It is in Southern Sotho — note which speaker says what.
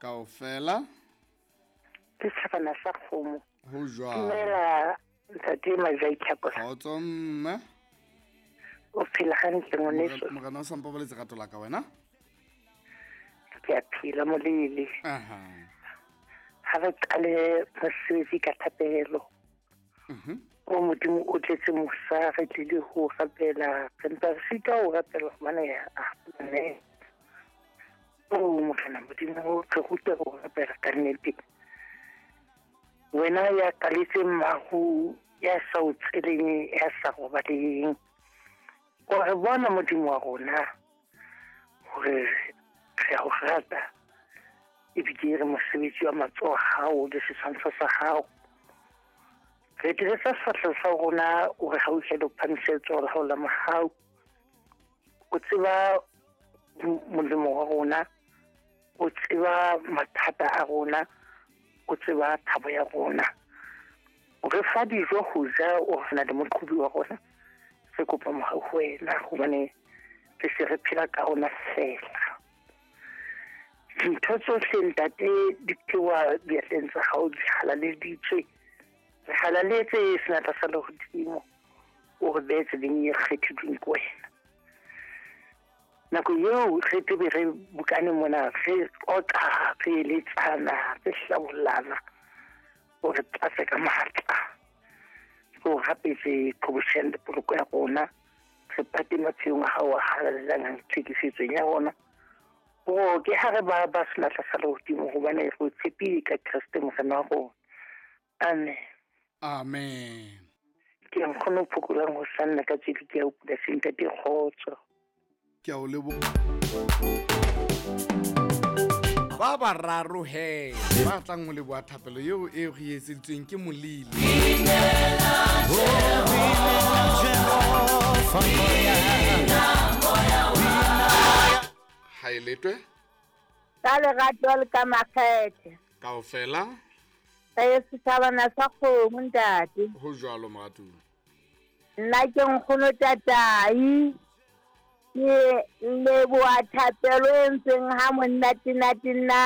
Speaker 1: Kaofela.
Speaker 2: Ke setjhabana sa kgomo.
Speaker 1: Ho jwalo.
Speaker 2: Dumela ntate Mazai Tlhakola.
Speaker 1: Kgotso mme.
Speaker 2: O phela hantle ngwaneso.
Speaker 1: Morena o sa mpabaletse rato la ka wena.
Speaker 2: Ke a phela molele.
Speaker 1: Aha.
Speaker 2: Ha re qale mosebetsi ka thapelo. O Modimo o tletse mosa, re tlile ho rapela, re mpa re sitwa ho rapela hobane a ne. O Morena Modimo, re rute ho rapela ka nnete. Wena ya kaletseng maru, ya sa o tseleng, ya sa robaleng. O re bona Modimo wa rona hore re a o rata, ebile re mosebetsi wa matsoho a hao le setshwantsho sa hao. Re dirisa sefahleho sa rona, o re hauhele, o phamise letsoho la hao la mohau. O tseba molemo wa rona, o tseba mathata a rona, o tseba thabo ya rona. O re fa dijo ho ja, o re na le moqhobi wa rona. Re kopa mohau ho wena hobane re se re phela ka rona feela. Dintho tsohle ntate di tloha diatleng tsa hao, di halaleditswe. Re halaletse senatla sa lehodimo, o re behe tseleng e kgethilweng ke wena. Nako eo re tebe re bokane mona, re qoqa, re eletsana, re hlabollana, o re tlatse ka matla. Re o rapetse qhobosheane le poloko ya rona, re pate maphelong a hao a halalelang a tlhekefetsong ya rona. O ke ha re ba ba senatla sa lehodimo hobane re o tshepile ka Kreste Morena wa rona. Amen.
Speaker 1: Amen.
Speaker 2: Ke nkgono phokolang ho sanna ka tswele ke ya o polasing ntate kgotso.
Speaker 1: Ke a o leboha. Ba bararo he ba tlang ho leboha thapelo eo e re etseditsweng ke Molile. Ha e letwe.
Speaker 3: Ka lerato le ka makgethe.
Speaker 1: Kaofela.
Speaker 3: Re setjhabana sa kgomo ntate.
Speaker 1: Ho jwalo moratuwa.
Speaker 3: Nna ke nkgono tatai. Ke leboha thapelo e entsweng ha monnatenate nna.